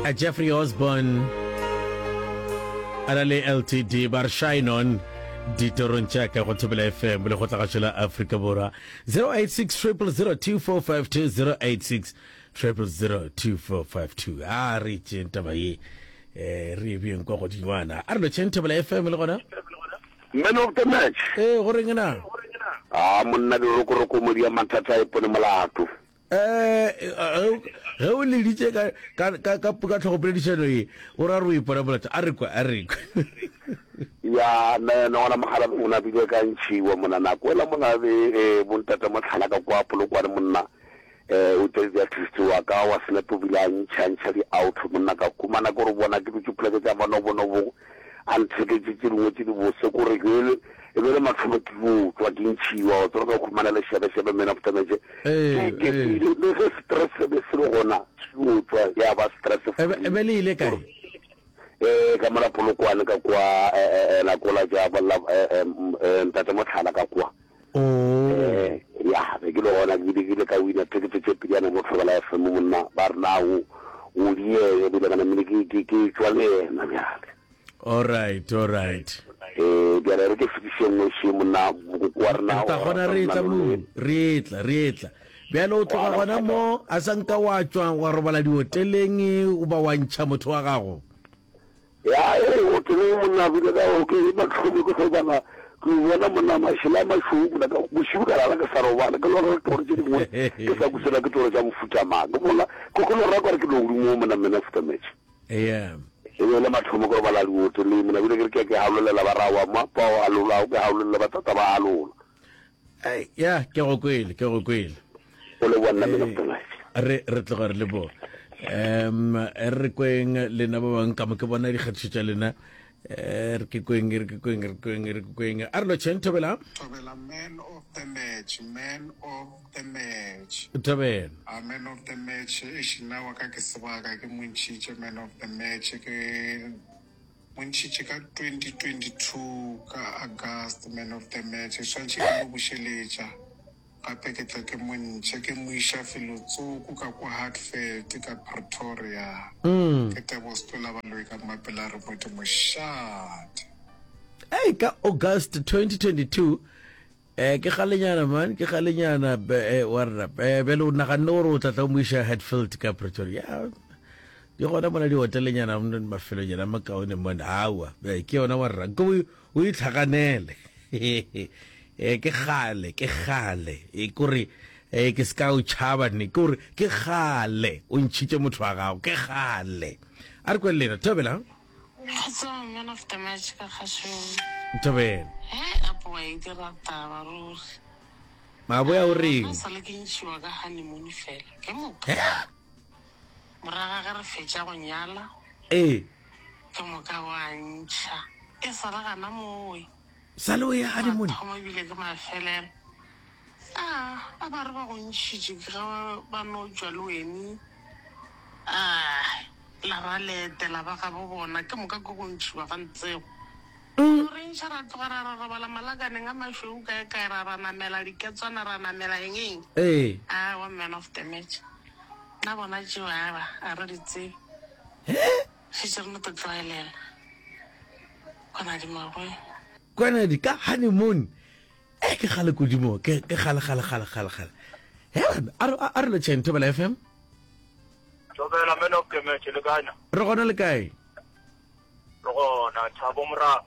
A Jeffrey Osborne a na le LTD ba re shine on ditorong tša ka go Thobela FM le go tlagašo la Afrika Borwa. 086 0002452 086 0002452. A re tšeng taba ye eh re e beng kwa godingwana. A re lotšheng Thobela FM le gona. Man of the match. Ee, go reng na? A monna dirokoroko mo dia mathata a ipone molato. Eh, ge o leditše ka ka ka ka ka tlhogopoledišano ye, o ra re o ipona molato. A re kwe, a re kwe. Ya, me ne gona mogala o na bile ka ntšhiwa mona nako ela mona be eh, bontate motlhala ka kwa Polokwane monna eh o tse di artist wa ka wa snap o bile a ntšha ntšha di out monna ka kumana ke gore bona ke dutše poleke tša manobonobo a ntheketše tše dingwe tše di bose kore ke e be le mathomo ke yo tswa ke ntšhiwa wa tseba ka khumana le shebe shebe man of the match Ee, ke ee. le le ge stress se be se le gona se yo tswa ya ba stress E be e be le ile kae? Eh, ka mola Polokwane ka kwa eh, eh, eh, la kola ja la eh, eh, eh, ntate Motlhala ka kwa. Oh. Eh, ya be ke le gona ke bile ke ile ka wina tekete tše pediana mo Thobela FM monna ba re na o o diege bile ka namile ke ke ke tšwa le yena bjale. All right, all right. Eh, bjale re ke fetiše nngwe še monna mokoko wa rena Re tla o gona rata re etla monna mo, Lolweni. re etla, re etla. Bjale o tloga gona mo, a sa nka wa tšwa wa robala dioteleng o ba wa ntšha motho wa gago. Ya, ee, hoteleng monna bile ka okay mathomo ke tlo bala ke bona monna mašela a mašweu monna ka bošego ka lala ke sa robala ke lora ditoro tše dingwe ke sa kusela ke toro tša mofuta mang ke bona ke ke lora kare ke legodimo monna mena futa match Yeah. E be e le mathomo ke robala dihoteleng monna bile ke re ke ke halolela ba rawa ma ba halola ke halolela ba tata ba halola. Ei, ya ke go kwele ke go kwele. O leboa nna mena futa match. Re re tloga re leboga. Um re kweng lena ba bang ka mo ke bona dikgatišo tša lena. Eh, re ke kweng re ke kweng re kweng re ke kweng. A re lotšheng Thobela. Thobela man of the match, man of the match. Thobela. A man of the match, eish nna wa ka ke sebaka ke mo ntšhitše man of the match ke mo ntšhitše ka 2022 ka August man of the match swantšhe ke mo bušeletša Gape ke tla ke mo ntšhe ke mo iša felotsoko ka kwa Hatfield ka Pretoria. Ke Tebogo Setola Baloyi ka Mmapela re Modimo Shate. Ei, ka August 2022, eh, ke kgalenyana man, ke kgalenyana eh, wa rra. Eh, bjale o naganne gore o tla tla o mo iša Hatfield ka Pretoria. Ya, di gona mona dihotelenyana mafelonyana a makaone mona. Aowa, eh, ke yona wa rra. Nko O itlhaganele. E, ke kgale, ke kgale. E, kore, e, ke se ka o tšhaba ne. Ke gore, ke kgale o ntšhitše motho wa gago. Ke kgale. A re kwele lena. Thobela. Kgotsong, man of the match ka kgašong. Thobela. He, apo wa e dira taba ruri. Maboya o reng? Nna sale ke ntšhiwa ka honeymoon fela. Ke moka. Morago ga ge re fetša go nyala. Ee. Ke moka wa ntšha. E sa le gana mowe. Sa le o ya honeymoon. Mathomo ebile ke mafelelo. A ba ba re ba go ntšhitše ke ge ba no tšwa le wene. A la ba le etela ba gabo bona. Ke moka ke go ntšhiwa ga ntsego. No re ntšha ra tloga ra ra robala malakaneng a mašweu kae kae ra ra namela diketswana ra namela eng eng. Ee. Aowa man of the match. Nna bona tšeo aeba a re di tsebe. Šetše re no to tlwaelela. Kwanadi maboe. Kwanadi ka honeymoon. Eh ke kgale kudu mo. Ke ke kgale kgale kgale kgale kgale. He a re a re lotšheng Thobela FM. Thobela man of the match le kae na? Re gona le kae? Re gona Thabo Moraba.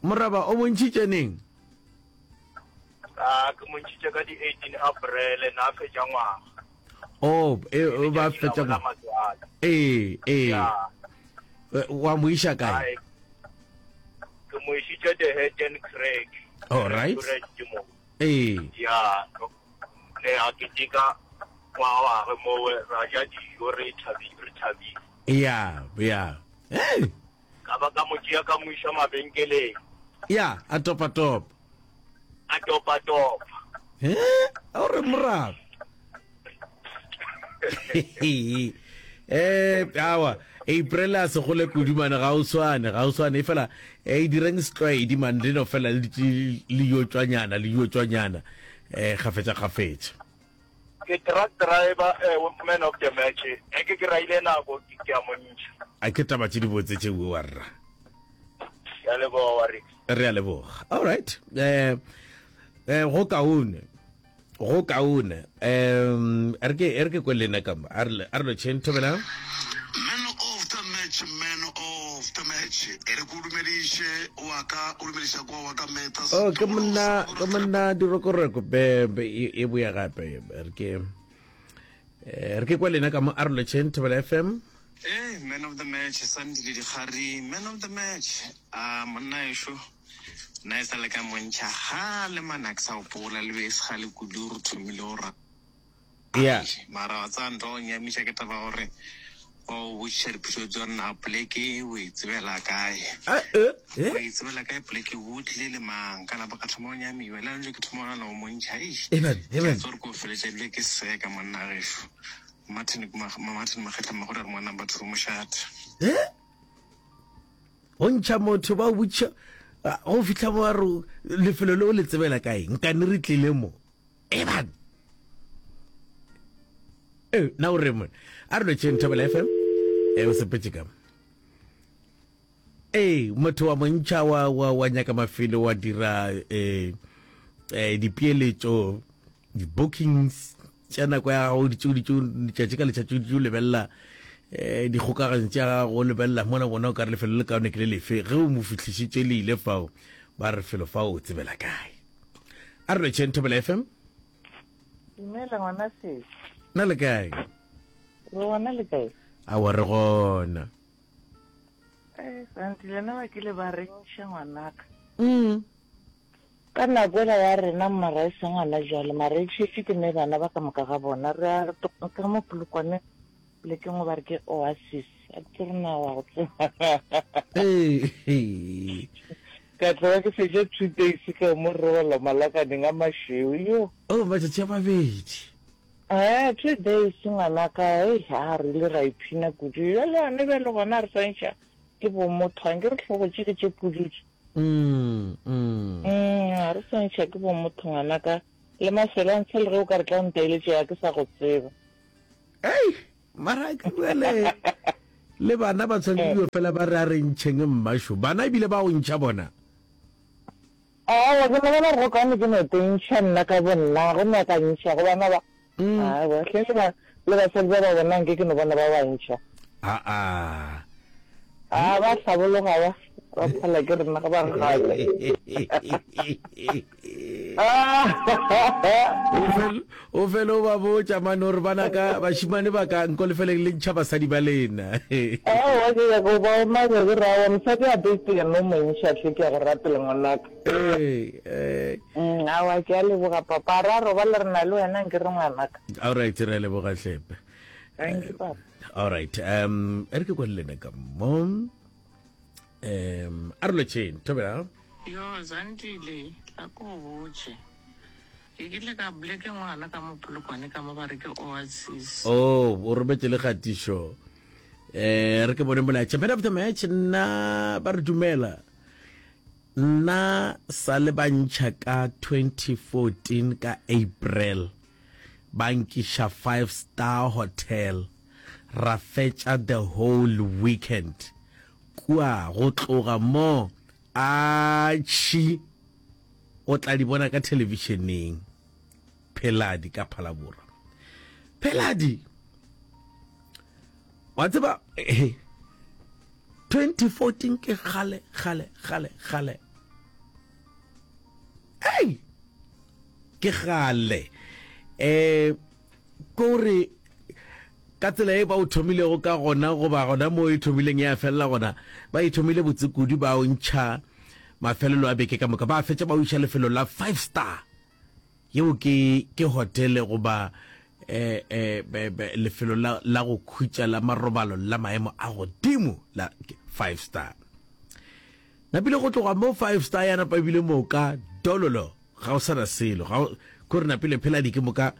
Moraba o mo ntšhitše neng? A ke mo ntšhitše ka di 18 April na fetša ngwaga. Oh, e o ba fetša ngwaga. Ee, ee. Wa mo iša kae? Ke mo išitše the Hatton Craig. All right. Ee. Ya, ne a keteka ngwaga wa gagwe mowe ra ja dijo re thabile re thabile. Ya, ya. Hey. Ka ba ka mo tšea ka mo iša mabenkeleng. Ya, a topa topa. A topa topa. He, a o re morago. Eh, awa, April a se gole kudu mane ga o swane, ga o swane efela e direng setlwaedi mane le no fela le le yo tšwanyana, le yo tšwanyana eh gafetša gafetša. Ke truck driver eh, man of the match. Ge ke kry-ile nako ke ke a mo ntšha. A ke taba tše dibotse tše bua rra. Ke a leboga Warix. Re a leboga. All right. Eh eh go kaone. Go kaone. Um re ke re ke kwe lena ka mo. A re a re lo tšheng thobela. Man of the match, man of the match. E re ko dumediše wa ka, o dumediša kwa wa ka Metha Oh, ke monna ke monna dirokoroko be be e e boya gape re ke eh, re ke kwa lena ka mo a re lo tšheng thobela FM. Hey, man of the match, Sandile Dikgari, man of the match. Ah, monna ešo, nna e sa le ka montšha gale man, a ke sa gopola le be e se gale kudu re thomile go ra. Yeah. Mara wa tsaya ntwa go nyamiša ke taba gore wa o botšiša dipotšišo tsa gore na poleke o e tsebela kae. Ah, eh, eh. O e tsebela kae poleke o tlile le mang ka napa ka thoma go nyamiwa le ntse ke thoma go nana go montšha eish. Amen, amen. Ke tsore ko feletša ebile ke seka monna gešo. Martin Martin Makgetla Magore re mo number 2 mošate. Eh? Go ntšha motho ba botša go fihla mo re lefelo le o le tsebela kae nkane re tlile mo eban eh na o re mo a re lotšheng Thobela FM eh o sepetse ka Ee, motho wa montšha wa, wa, wa nyaka mafelo wa dira eh, eh, dipeeletšo di-bookings tša nako ya gago ditšeo ditšeo letšatši ka letšatši o lebelela eh, dikgokaganyo tša gago o lebelela mona bona o ka re lefelo le kaone ke le lefe ge o mo fihlišitše le ile fao ba re felo fao o tsebela kae a re lotšheng Thobela FM Dumela ngwana sesi. Na le kae? Re gona le kae? Aowa re gona. Eh, santi lena ba kile ba re ntšha ngwanaka. Mm. Ka nako ela ya rena mara e seng gona jwale mara e tšhetše ke ne bana ba ka moka ga bona re a ka mo Polokwane polekeng go ba re ke Oasis a ke tsebe na wa go tseba Ee. ka tloga ke fetša two days ka mo robala malakaneng a mašweu yo Oh, matšatši a mabedi. Eh, two days ngwanaka, hei, a re ile ra iphina kudu. Bjale gane bjale gona re swantšha ke bo motho, anke re hlogo tše ke tše pududu. Mm, mm. Mm, a re swantšha ke bo motho ngwanaka. Le mafelo a ntshe le ge o ka re tla o ntaeletše ya ke sa go tseba. Ei, mara ke bjale le bana ba tshwanetse eh. fela ba re a re ntšheng mmasho. Bana ebile ba o ntšha bona. Aowa, ke nagana gore go kaone ke no tentšha nna ka bonna, go nyaka ntšha go bana ba. Aowa, hle le ba, le basadi ba ba bona nke ke no bona ba ba ntšha. Aa. A ba hlabologa ba, ba phala ke rena ga ba re gale. O fele o ba botša mane gore bana ka bašimane ba ka nko lefeleng le ntšha basadi ba lena. Aowa, ke nyaka go ba omanya ke re aowa mosadi a best ke no mo ntšha hle ke ya go rapela ngwanaka. Ee, ee. Mm, aowa ke a leboga papa, ra robala re na le wena nke re ngwanaka. All right, re a leboga hlepe. Thank you papa. All right, um e re ke kwa le lena ka mo. Um a re lotšheng, thobela. Yo, Zandile, tla ko go botše. Ke kile ka bleke ngwana ka mo Polokwane ka mo ba re ke Oasis. Oh, o rometše le kgatišo. Eh, re ke bone molaetša. Man of the match, nna ba re dumela. Nna sa le ba ntšha ka 2014 ka April. Ba nkiša five star hotel. Ra fetša the whole weekend. Kua go tloga mo atšhi o tla di bona ka thelebišeneng. Pheladi ka Phalaborwa. Pheladi, wa tseba, 2014 ke kgale, kgale, kgale, kgale. Ei, ke kgale. Eh, Kore ka tsela e ba o thomilego ka gona goba gona mo e thomileng ya felela gona, ba e thomile botse kudu ba o ntšha mafelelo a beke ka moka, ba fetša ba o iša lefelo la five star. Yeo ke ke hotele goba eh, eh, lefelo la, la go khutša la marobalo la maemo a godimo la five star. Napile go tloga mo five star ya napa ebile moka dololo ga o sana selo ga ko re napile pheladi ke moka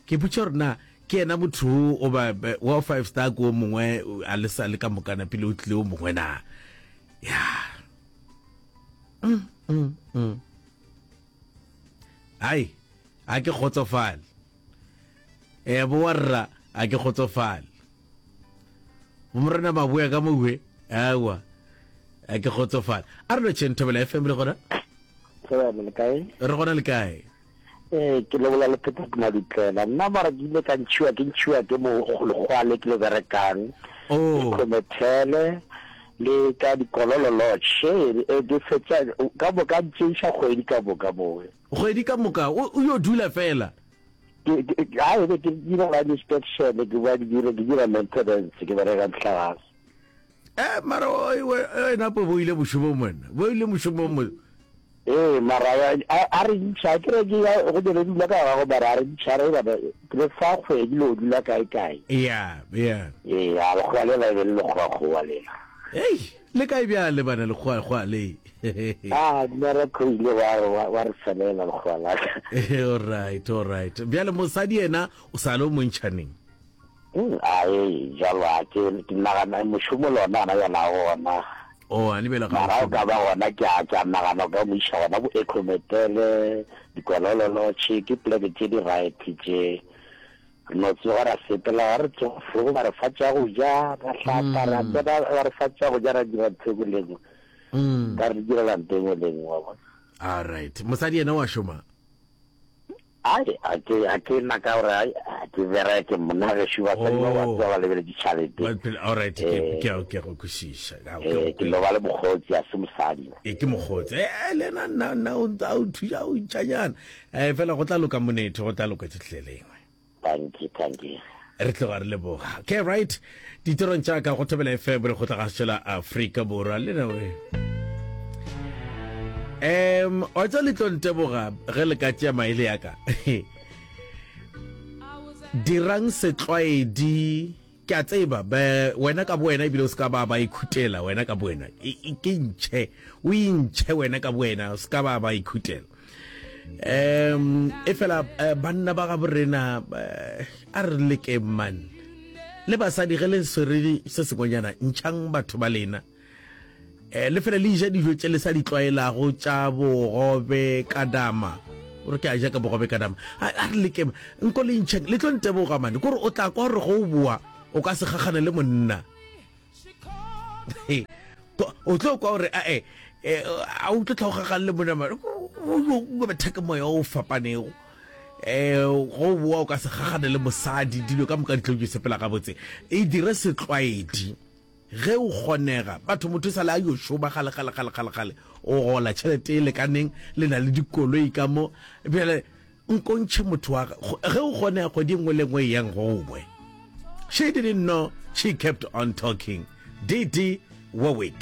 ke putša gore na ke yena motho o ba wa five star ko mongwe a le sa le ka moka napile o tlile o mongwe na ya mm, mm, mm. ai a ke kgotsofale. Eh bo warra a ke kgotsofale. Bomorena ba boya ka mowe. Awa. A ke kgotsofale. A re lotšheng Thobela FM re gona? Thobela le kae? Re gona le kae? Ee, ke lebola le Patrick Madutlela. Nna mara ke ile ka ntšhiwa ke ntšhiwa ke mogologwa le ke le berekang. Oh. Khomethele le ka dikololo lodge. E ke fetša ka moka ntšeiša kgwedi ka moka mowe. Kgwedi ka moka o yo dula fela. Ke ke a e be ke dira line inspection ke ba ke dira ke dira maintenance ke bereka mohlagase. Eh mara o wena po bo ile mošomong wena. Bo ile mošomong mo. Ee, mara a re ntšha, ke re ke ya go dire dula ka gago, mara a re ntšha re bana re fa kgwedi le o dula kae kae. Ya, ya. Ee, a lekgowa lela e be le lekgowa-kgowa lela. Hei, le kae bjale bana lekgowa-kgowa le? Ah, mmereko o ile wa wa wa re felela lekgowa la ka. All right, all right. Bjale mosadi yena o sa le o mo ntšha neng? Ae, jalo a ke ke nagana mošomo le ona gona bjale a gona. Oh, a lebele ga Mara o ka ba gona ke a ke a nagana o ka mo iša gona bo Ecometele, Dikololo Lodge, ke poleke tše di right tše. Re no tsoga ra sepela, ga re tsoga frogo ba re fa tša go ja, ra hlapa, ra tsena ba re fa tša go ja ra dira ntho e nngwe le e nngwe. Ba re direla ntho e nngwe le e nngwe wa bona. All right. Mosadi yena wa šoma? Ai, a ke, a ke nna ka gore ai, a ke bereke monna gešo basadi ba ba tsoga ba lebeletše tšhalete. Ba phela, all right, ke, ke, ke a go kwešiša. Ke a Eh, ke no ba le mokgotsi, a se mosadi. E ke mokgotsi. Eh, le yena nna, nna o ntse a o thuša, o ntšhanyana. Eh, fela go tla loka monetho, go tla loka tšohle lengwe. Thank you, thank you. Re tloga re leboga. Okay, right. Ditirong tša ka go Thobela FM re kgotla ga la Afrika Borwa le na we. Em, wa tsa le tlo nteboga ge le ka tšea maele ya ka. Dirang setlwaedi ke a tseba be wena ka bowena ebile o se ka ba ba ikhutela wena ka bowena ke ntšhe o intšhe wena ka bowena o se ka ba ba ikhutela um e fela eh, banna ba ga borena eh, a re lekeng man le basadi ge le swere se sengwenyana ntšhang batho ba lena um le fela le ja dijo tše le sa di tlwaelago tša bogobe ka dama o re ke a ja ka bogobe ka dama a re lekeng nko le ntšheng le tlo nteboga mane kore o tla kwa gore go o boa o ka se gagane le monna o tlo kwa gore ae eh, a o tlo tlhogagane le monna mane o betha ke moya o fapanego um go boa o ka se gagane le mosadi dilo ka moka di tlo di sepela gabotse e dire setlwaedi Ge o kgonega, batho motho e sa le a yo šoma gale gale gale gale gale, o gola tšhelete e lekaneng, le na le dikoloi ka mo, bjale nko ntšhe motho wa ge o kgonega kgwedi e nngwe le nngwe e yang gongwe. She didn't know, she kept on talking. DD Warwick.